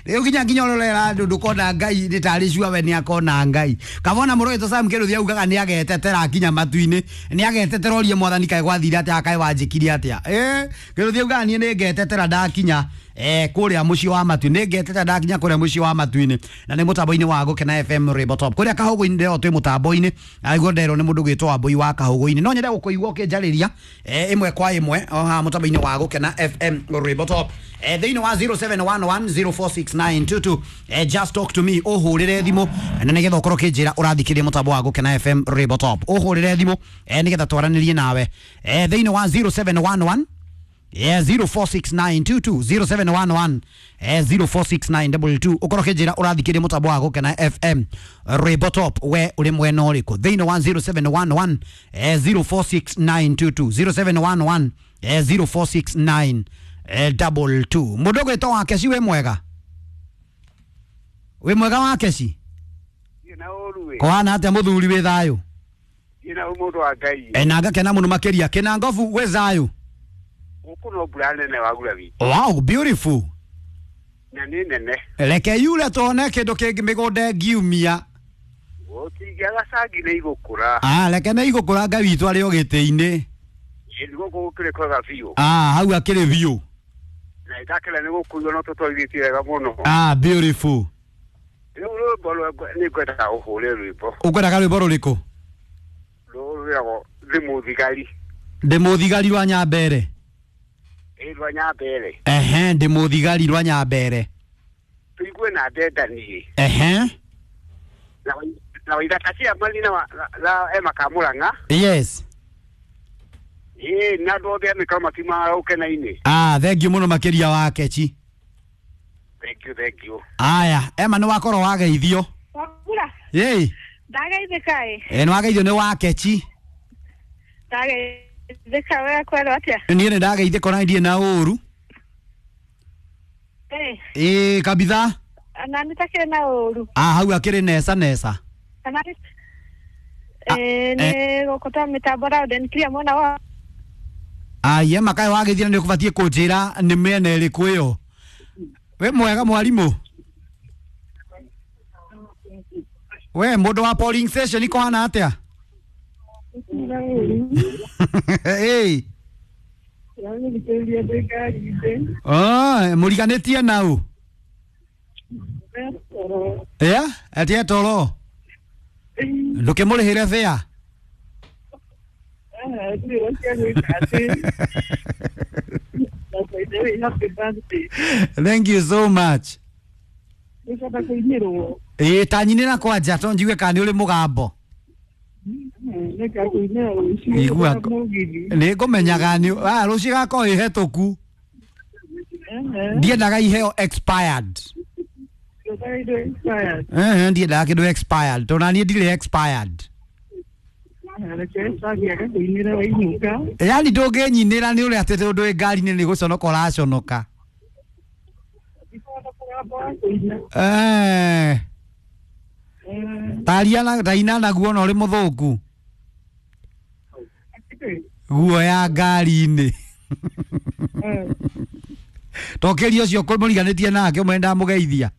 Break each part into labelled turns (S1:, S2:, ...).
S1: Rĩu nginya nginya ũrorera andũ ndũkona Ngai nĩ tarĩ cua we nĩ akona Ngai. Kamona mũrũgĩtwo Sam Kĩrũthia augaga nĩ agetetera nginya matu-inĩ. Nĩ agetetera orie mwathani kaĩ gwathire atĩa kaĩ wanjĩkire atĩa. Kĩrũthia augaga niĩ nĩ ngetetera ndakinya kũrĩa mũciĩ wa matu nĩ ngetetera ndakinya kũrĩa mũciĩ wa matu-inĩ. Na nĩ mũtambo-inĩ wa Gũkena FM Rainbow Top. Kũrĩa Kahũgũ-inĩ ndĩrerwo twĩ mũtambo-inĩ. Aiguo nderwo nĩ mũndũ gwĩtwo Wambui wa Kahũgũ-inĩ. No nyende gũkũigua ũkĩnjarĩria ĩmwe kwa ĩmwe o haha mũtambo-inĩ wa Gũkena FM Rainbow Top. Thĩinĩ wa 0711046922 just talk to me ũhũrĩre thimũ na nĩgetha ũkorwo ũkĩnjĩra ũrathikĩrĩria mũtambo wa Gũkena FM Rainbow Top. Ũhũrĩre thimũ nĩgetha twaranĩrie nawe thĩinĩ wa 0711 046922 0711 046922 ukorwo ũkĩnjĩra ũrathikĩrĩria mũtambo wa Gũkena FM Rainbow Top we ũrĩ mwena ũrĩkũ thĩinĩ wa 0711 046922 0711 0469 22. Mũndũ ũgwĩtwo Wakeci wĩ mwega? Wĩ mwega Wakeci? Kũhana atĩa mũthuri wĩ thayũ?
S2: Ina mũndũ wa Ngai.
S1: Na ngakena mũno makĩria. Kĩna ngobu wĩ thayũ?
S2: Gũkũ no mbura nene wagura wiki.
S1: Wow, beautiful.
S2: Na nĩ nene.
S1: Reke yure tuone kĩndũ kĩngĩ mĩgũnda ĩngiumia.
S2: Gũtingĩaga cangi nĩ igũkũra.
S1: Reke nĩ igũkũra Ngai witũ arĩ o gĩtĩ-inĩ.
S2: Gũkũ gũkĩrĩ kwega biũ.
S1: Hau akĩrĩ biũ.
S2: Na ndakĩra nĩ gũkuo no tũtwarithĩtie wega mũno.
S1: Beautiful.
S2: Rĩu rwĩmbo nĩ ngwendaga ũhũre rwĩmbo.
S1: Ũkwendaga rwĩmbo rũrĩkũ?
S2: Rwĩragwo Ndĩ Mũthigari.
S1: Ndĩ Mũthigari rwa Nyambere.
S2: Rwa Nyambere.
S1: Ehe, Ndĩ Mũthigari rwa Nyambere.
S2: Tũigue na ndendanie.
S1: Ehe.
S2: Na Waithaka Ciamani na Emma Kamũrang'a.
S1: Yes.
S2: Na andũ othe a mĩkaro matiumaga Gũkena-inĩ.
S1: Thank you mũno makĩria Wakeci.
S2: Thank you, thank you.
S1: Aya, Emma nĩ wakorwo wageithio.
S3: Wagura.
S1: Ĩĩ.
S3: Ndageithĩka ĩ.
S1: Nĩ wageithio nĩ Wakeci.
S3: Ndageithĩka we kwero atĩa?
S1: Niĩ nĩ ndageithĩka ona ndirĩ na ũru. Ĩĩ kabitha.
S3: Na nĩ takĩrĩ na ũru.
S1: Hau akĩrĩ nesa nesa.
S3: Nĩ gũkũ ta mĩtambo round and clear mwena wa.
S1: Ai Emma kaĩ wagĩthiĩ na nĩ ũkũbatiĩ kũnjĩra nĩ mĩena ĩrĩkũ ĩyo. Wĩ mwega mwarimũ? We mũndũ wa polling station kũhana atĩa? Ĩĩ. Mũriganĩtie nau? Ĩĩ, toro. Ndũkĩmũrĩhĩre fare? Thank you so much. Ĩĩ ta nyinĩra kwanja to njigue kana nĩ ũrĩ mũgambo. Igua nĩ ngũmenyaga nĩ rũciũ ĩgakorwo ĩ hetũku. Ndiendaga iheo expired. Ndiendaga kĩndũ expired tondũ naniĩ ndirĩ expired. Yaani ndũngĩnyinĩra nĩ ũrĩa atĩ tondũ wĩ ngari-inĩ nĩ gũconoka ũraconoka. Taria na taina naguo na ũrĩ mũthũngũ. Guoya ngari-inĩ. Tokĩria ũcio mũriganĩtie nake ũmwe ndamũgeithia.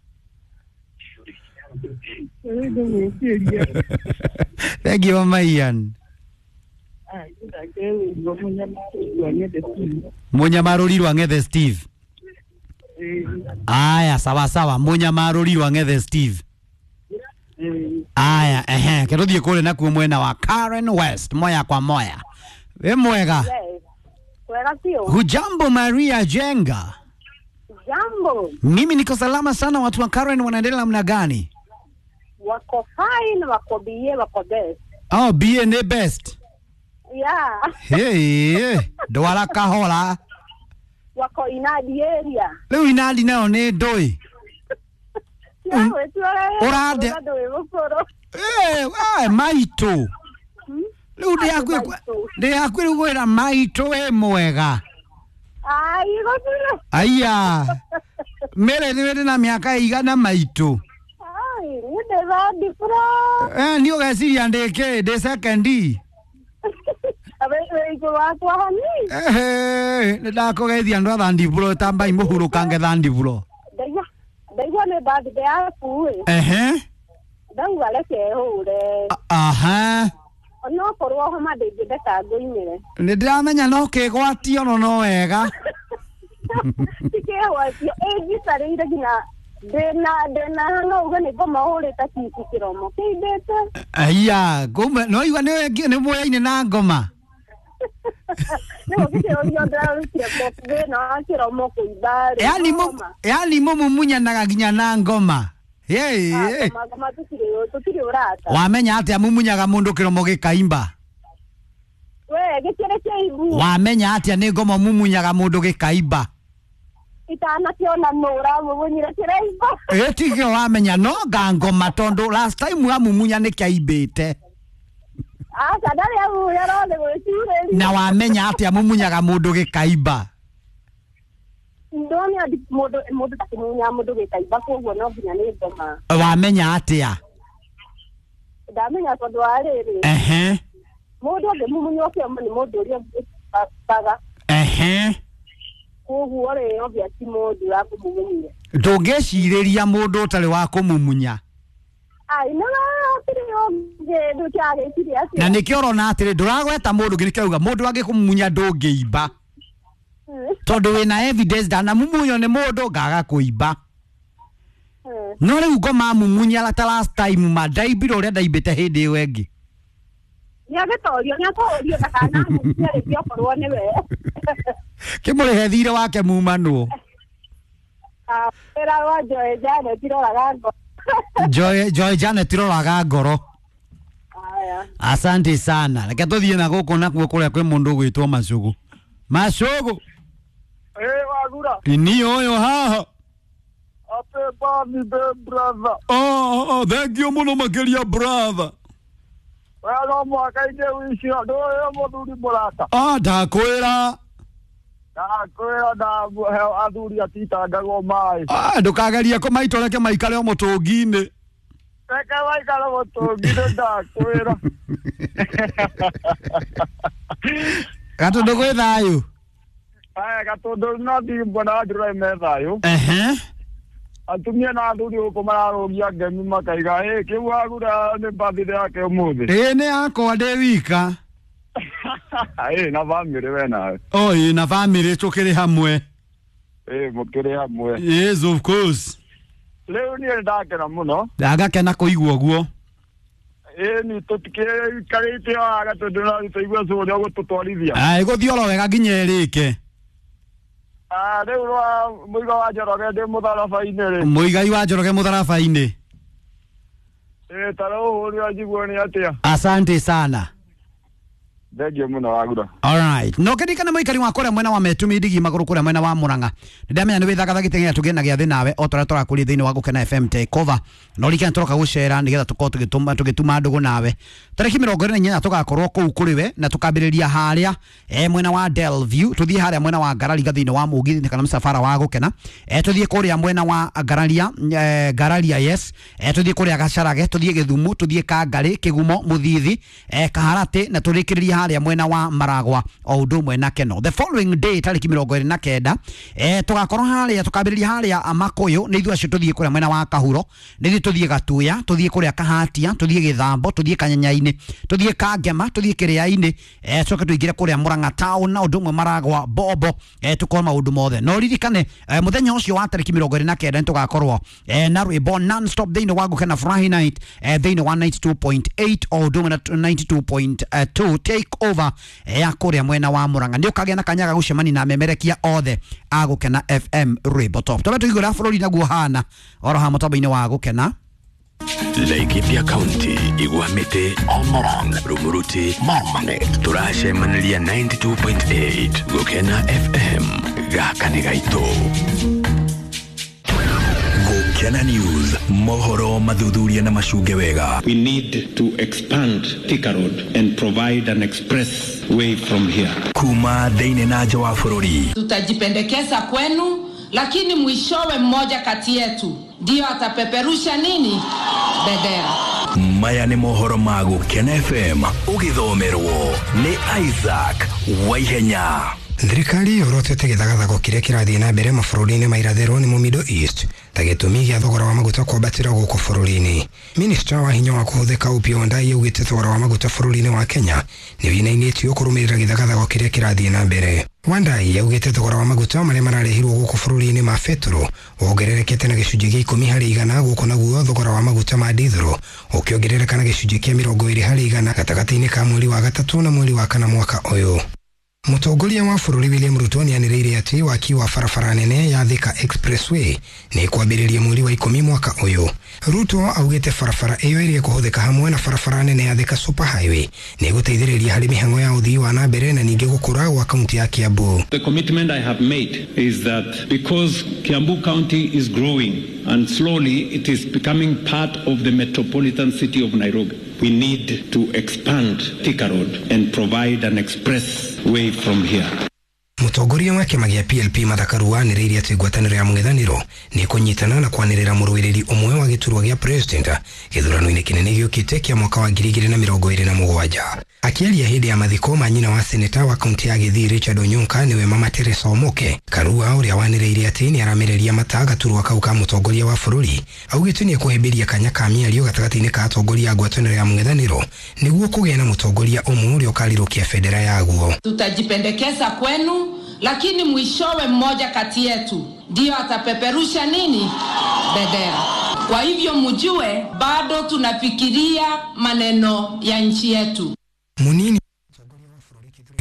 S1: Thank you Mama Ian. Mũnyamarũri rwa Ng'ethe Steve. Aya sawa sawa, Mũnyamarũri rwa Ng'ethe Steve. Aya, ehe, ke tũthiĩ kũrĩa nakuo mwena wa Karen West moya kwa moya. Wĩ mwega?
S3: Wega sio?
S1: Hujambo Maria Jenga?
S3: Jambo.
S1: Mimi niko salama sana. Watu wa Karen wanaendelea namna gani?
S3: Wako fine, wako BA, wako best.
S1: Oh, BA ni best.
S3: Yeah.
S1: Hey, ndwara kahora.
S3: Wako inadi area.
S1: Rĩu inadi nayo nĩ ndũĩ. Ũrande. Maitũ. Rĩu ndĩ hakuhĩ rĩu gwĩra maitũ wĩ mwega.
S3: Ai, gũtirĩ.
S1: Aya. Mĩrĩ nĩ wĩrĩ na mĩaka ĩigana maitũ?
S3: Ai, niĩ ndĩ third floor.
S1: Niĩ ũgeciria ndĩ kĩ? Ndĩ second.
S3: Wĩ igũrũ wakwa hani.
S1: Nĩ ndakũgeithia andũ a third floor tambai mũhurũkange third floor.
S3: Ndaiya. Ndaigua nĩ birthday yaku ĩ.
S1: Ehe.
S3: Ndauga reke hũre.
S1: Aha.
S3: Onokorwo homa ndĩngĩndeka ngũinĩre.
S1: Nĩ ndĩramenya no kĩgwatio no no wega.
S3: Tikĩgwatio ĩnjikarĩire nginya ndĩna no uge nĩ ngoma hũrĩte kici kĩromo kĩimbĩte.
S1: Aya, ngoma no igua nĩ muoyaine na ngoma.
S3: Nĩguo ngĩkĩũrio ndĩrarutire thĩna wa kĩromo kũimba rĩ.
S1: Yaani mumumunyanaga nginya na ngoma. Hey, hey.
S3: Ngoma tũtirĩ ũrata.
S1: Wamenya atĩa mumunyaga mũndũ kĩromo gĩkaimba?
S3: We gĩkĩrĩ kĩimbu.
S1: Wamenya atĩa nĩ ngoma mumunyaga mũndũ gĩkaimba?
S3: Itanakĩona nũ ũramumunyire kĩraimba.
S1: Ĩ tikĩo wamenya no nga ngoma tondũ last time wamumunya nĩ kĩaimbĩte.
S3: Aca ndarĩ amunya no nĩ gwĩcirĩria.
S1: Na wamenya atĩa mumunyaga mũndũ gĩkaimba?
S3: Ndona mũndũ takĩmunya mũndũ gĩkaimba koguo no nginya nĩ ngoma.
S1: Wamenya atĩa?
S3: Ndamenya tondũ wa rĩrĩ.
S1: Ehe.
S3: Mũndũ angĩmumunywo kĩomo nĩ mũndũ ũrĩa ũbaga.
S1: Ehe.
S3: Koguo rĩ obvious ti mũndũ wa kũmumunyia.
S1: Ndũngĩcirĩria mũndũ ũtarĩ wa kũmumunya.
S3: Ai no hatirĩ ũngĩ ndũkĩagĩciria atĩa.
S1: Na nĩkĩo ũrona atĩrĩ ndũragweta mũndũ ũngĩ nĩkĩo auga mũndũ angĩkũmumunya ndũngĩimba. Tondũ wĩna evidence ndanamumunywo nĩ mũndũ ngaga kũimba. No rĩu ngoma mumunya ta last time ma ndaimbire ũrĩa ndaimbĩte hĩndĩ ĩyo ĩngĩ.
S3: Nĩagĩtorio nĩatorio ndakanamumunye rĩngĩ okorwo nĩwe.
S1: Kĩmũrĩhe thirĩ wake mumanwo.
S3: Wĩra wa Joy Janet iroraga ngoro.
S1: Joy Janet iroraga ngoro.
S3: Aya.
S1: Asante sana. Reke tũthiĩ na gũkũ nakuo kũrĩa kwĩ mũndũ ũgwĩtwo Macugu. Macugu.
S2: Wagura.
S1: Ni ũyũ haha.
S2: Happy birthday brother.
S1: Oh, thank you mũno makĩria brother.
S2: Wega mwaka ingĩ wicio ndũĩ mũthuri mũrata.
S1: Ah, ndakwĩra.
S2: Ndakwĩra ndahe athuri atitangagwo maĩ.
S1: Ah, ndũkagerie kũmaitwo reke maikare o mũtũngi-inĩ.
S2: Reke maikare mũtũngi-inĩ ndakwĩra.
S1: Gatũndũ gwĩ thayũ.
S2: Aya Gatũndũ no thiĩ mbona ndĩrore me thayũ.
S1: Ehe.
S2: Atumia na athuri gũkũ mararũgia ngemi makaiga ĩ kĩu wagura nĩ birthday yake ũmũthĩ.
S1: Ĩ nĩ yakwa ndĩ wika.
S2: Ĩ na bamĩrĩ we nawe.
S1: Oh, ĩ na bamĩrĩ tũkĩrĩ hamwe.
S2: Ĩ mũkĩrĩ hamwe.
S1: Yes, of course.
S2: Rĩu niĩ ndakena mũno.
S1: Ndagakena kũigua ũguo.
S2: Ĩ ni tũtikĩikarĩte haha Gatũndũ no tũigue cũrũ ũgũtũtwarithia.
S1: Ah, ĩgũthiĩ oro wega nginya ĩrĩke.
S2: Ah, rĩu rwa Mũigai wa Njoroge ndĩ mũtharaba-inĩ rĩ.
S1: Mũigai wa Njoroge mũtharaba-inĩ.
S2: Ĩ ta rĩu ũhũrĩra njiguo nĩ atĩa.
S1: Asante sana.
S2: Thengiũ mũno wagura.
S1: All right. No kĩririkane mũikari wa kũrĩa mwena wa Metumi ndigi magũrũ kũrĩa mwena wa Murang'a. Nĩndamenya nĩ wĩthagathagĩte nginya tũgĩe na gĩathĩ nawe o torĩa tũrakũria thĩinĩ wa Gũkena FM Takeover. No ririkane tũroka gũcera nĩgetha tũkorwo tũgĩtuma ndũgũ nawe. Tarĩki 28 tũgakorwo kũu kũrĩ we na tũkambĩrĩria harĩa mwena wa Delview tũthiĩ harĩa mwena wa Ngararia thĩinĩ wa mũgithi kana msafara wa Gũkena. Tũthiĩ kũrĩa mwena wa Ngararia Ngararia yes. Tũthiĩ kũrĩa Gacarage, tũthiĩ Gĩthumo, tũthiĩ Kangarĩ, Kĩgumo, Mũthithi, Kaharatĩ na tũrĩkĩrĩrie harĩa mwena wa Maragwa o ũndũ ũmwe na Keno. The following day tarĩki 29 tũgakorwo harĩa tũkambĩrĩria harĩa Makũyũ nĩ ithuĩ acio tũthiĩ kũrĩa mwena wa Kahuro, nĩ ithuĩ tũthiĩ Gatuya, tũthiĩ kũrĩa Kahatia, tũthiĩ Gĩthambo, tũthiĩ Kanyanyainĩ, tũthiĩ Kangema, tũthiĩ Kĩrĩainĩ, tũcoke tũingĩre kũrĩa Murang'a town na ũndũ ũmwe Maragwa Bobo, tũkorwo maũndũ mothe. No ririkane mũthenya ũcio wa tarĩki 29 nĩ tũgakorwo na rwĩmbo non stop thĩinĩ wa Gũkena Furahi Night thĩinĩ wa 92.8 o ũndũ ũmwe na 92.2 take over ya kũrĩa mwena wa Murang'a. Nĩ ũkagĩa na kanya ga gũcemania na memerekia othe a Gũkena FM rwĩmbo top. Tũbe tũigũra bũrũri naguo hana oro ha mũtambo-inĩ wa Gũkena.
S4: Laikipia County, Igwamite, Olmoron, Rumuruti, Marmanet. Turacemaniria 92.8 Gũkena FM gaka nĩ gaitũ.
S5: Gũkena News, mohoro mathuthuria na macunge wega.
S6: We need to expand Thika Road and provide an express way from here.
S5: Kuma thĩinĩ na nja wa bũrũri.
S7: Tutajipendekeza kwenu, lakini mwishowe mmoja kati yetu ndio atapeperusha nini bendera.
S5: Maya nĩ mohoro ma Gũkena FM ũgĩthomerwo nĩ Isaac Waihenya.
S8: Thirikari yorotete gĩthagathago kĩrĩa kĩrathiĩ na mbere mabũrũri-inĩ ma irathĩro nĩmo Middle East Ta gĩtũmi gĩa thogora wa maguta kwambatĩra gũkũ bũrũri-inĩ. Minista wa hinya wa kũhũthĩka Opiyo Wandayi augĩte thogora wa maguta bũrũri-inĩ wa Kenya nĩ wĩinainĩtio kũrũmĩrĩra gĩthagathago kĩrĩa kĩrathiĩ na mbere. Wandayi augĩte thogora wa maguta marĩa mararehirwo gũkũ bũrũri-inĩ ma betũrũ wongererekete na gĩcunjĩ gĩa 10% gũkũ, naguo thogora wa maguta ma dithũrũ ũkĩongerereka na gĩcunjĩ kĩa 20% gatagatĩ-inĩ ka mweri wa gatatũ na mweri wa kana mwaka ũyũ. Mũtongoria wa bũrũri William Ruto nĩanĩrĩire atĩ waki wa barabara nene ya Thika Expressway nĩ kwambĩrĩria mweri wa 10 mwaka ũyũ. Ruto augĩte barabara ĩyo ĩrĩa ĩkũhũthĩka hamwe na barabara nene ya Thika Super Highway nĩ ĩgũteithĩrĩria harĩ mĩhang'o ya ũthii wa na mbere na ningĩ gũkũra gwa kaunti ya Kiambu.
S6: The commitment I have made is that because Kiambu County is growing and slowly it is becoming part of the metropolitan city of Nairobi, we need to expand Thika Road and provide an express way from here.
S8: Mũtongoria wa kĩama gĩa PLP Martha Karua anĩrĩire atĩ ngwatanĩro ya mũng'ethanĩro nĩ kũnyitana na kwanĩrĩra mũrũĩrĩri ũmwe wa gĩturwa gĩa president gĩthurano-inĩ kĩnene gĩũkĩte kĩa mwaka wa 2027. Akĩaria hĩndĩ ya mathiko ma nyina wa seneta wa kaunti ya Gĩthii Richard Onyonka nĩwe Mama Teresa Omoke, Karua ũrĩa wanĩrĩire atĩ nĩ aramereria mata gaturwa kau ka mũtongoria wa bũrũri augĩte nĩ ekũhĩmbĩria kanya ka mĩario gatagatĩ-inĩ ka atongoria a ngwatanĩro ya mũng'ethanĩro nĩguo kũgĩa na mũtongoria ũmwe ũrĩa ũkarirũkia bendera yaguo.
S7: Tutajipendekeza kwenu, lakini mwishowe mmoja kati yetu ndio atapeperusha nini bendera. Kwa hivyo mjue bado tunafikiria maneno ya nchi yetu.
S8: Munini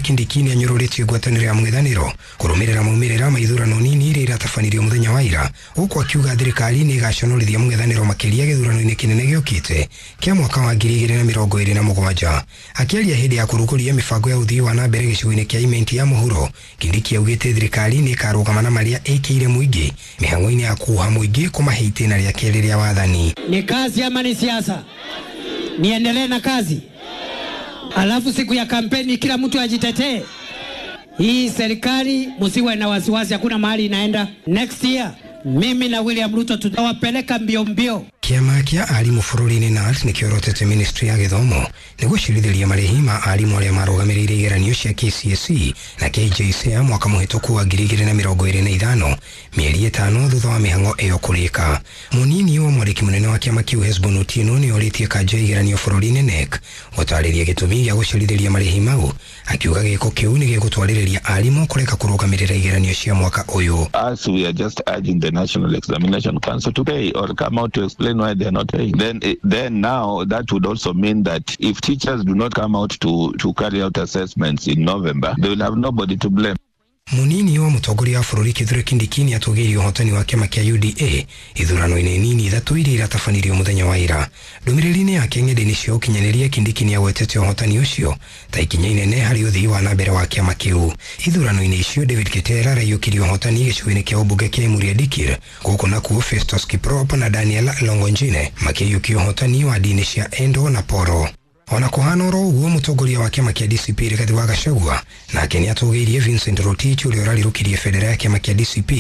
S8: Kindiki nĩanyũrũrĩtie ngwatanĩro ya mũng'ethanĩro kũrũmĩrĩra maumĩrĩra ma ithurano nini iria iratabanirio mũthenya wa ira, gũkũ akiuga thirikari nĩ ĩgaconorithia mũng'ethanĩro makĩria gĩthurano-inĩ kĩnene gĩũkĩte kĩa mwaka wa 2027. Akĩaria hĩndĩ ya kũrugũria mĩbango ya ũthii wa na mbere gĩcigo-inĩ kĩa Imenti ya mũhuro, Kindiki augĩte thirikari nĩ ĩkarũgama na marĩa ĩkĩire mũingĩ mĩhang'o-inĩ ya kuha mũingĩ kũmahe itĩna rĩa kerĩ rĩa wathani.
S9: Ni kazi ama ni siasa? Niendelee na kazi? Alafu siku ya kampeni kila mtu ajitetee. Hii serikali msiwe na wasiwasi, hakuna mahali inaenda. Next year mimi na William Ruto tutawapeleka mbio mbio.
S8: Kĩama kĩa arimũ bũrũri-inĩ KNUT nĩkĩorotete ministry ya gĩthomo nĩ gũcirithĩria marĩhi ma arimũ arĩa marũgamĩrĩire igeranio cia KCSE na KJSEA mwaka mũhĩtũku wa 2025, mĩeri 5 thutha wa mĩhang'o ĩyo kũrĩka. Mũnini wa mwandĩki mũnene wa kĩama kĩu Hesbon Otieno nĩ orĩtie kanja ya igeranio bũrũri-inĩ KNEC gũtarĩria gĩtũmi gĩa gũcirithĩria marĩhi mau, akiuga gĩko kĩu nĩ gĩgũtwarĩrĩria arimũ kũreka kũrũgamĩrĩra igeranio cia mwaka ũyũ.
S10: As we are just urging the National Examination Council to pay or come out to explain why they are not paying. Then now that would also mean that if teachers do not come out to carry out assessments in November, they will have nobody to blame.
S8: Munini wa mũtongoria wa bũrũri Kithure Kindiki nĩatũgĩirie ũhotani wa kĩama kĩa UDA ithurano-inĩ nini ithatũ iria iratabanirio mũthenya wa ira. Ndũmĩrĩri-inĩ yake ng'enda-inĩ cia ũkinyanĩria, Kindiki nĩagwetete ũhotani ũcio ta ikinya inene harĩ ũthii wa na mbere wa kĩama kĩu. Ithurano-inĩ icio David Ketera araiyũkirie ũhotani gĩcigo-inĩ kĩa ũmbunge kĩa Emurua Dikirr, gũkũ nakuo Festus Kiprop na Daniel Longonjine makĩiyũkia ũhotani wa ndini cia Endo na Poro. Ona kũhana oro ũguo, mũtongoria wa kĩama kĩa DCP Rigathi wa Gachagua nake nĩatũgĩirie Vincent Rotich ũrĩa ũrarirũkirie bendera ya kĩama kĩa DCP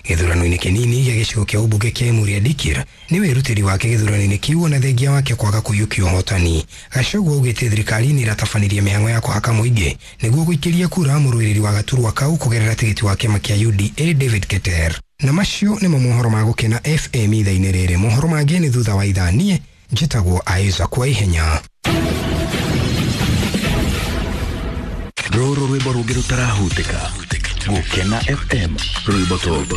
S8: gĩthurano-inĩ kĩnini gĩa gĩcigo kĩa ũmbunge kĩa Emurua Dikirr nĩ wĩrutĩri wake gĩthurano-inĩ kĩu ona thengia wake kwaga kũiyũkia ũhotani. Gachagua augĩte thirikari nĩ ĩratabanirie mĩhang'o ya kũhaka mũingĩ nĩguo gũikĩria kura mũrũĩrĩri wa gaturwa kau kũgerera tigiti wa kĩama kĩa UDA David Keter. Na macio nĩmo mohoro ma Gũkena FM ithaa-inĩ rĩrĩ. Mohoro mangĩ nĩ thutha wa ithaa. Niĩ njĩtagwo Isaac Waihenya.
S4: Rũrũ rwĩmbo rũngĩ rũtarahutĩka. Gũkena FM, rwĩmbo tondũ.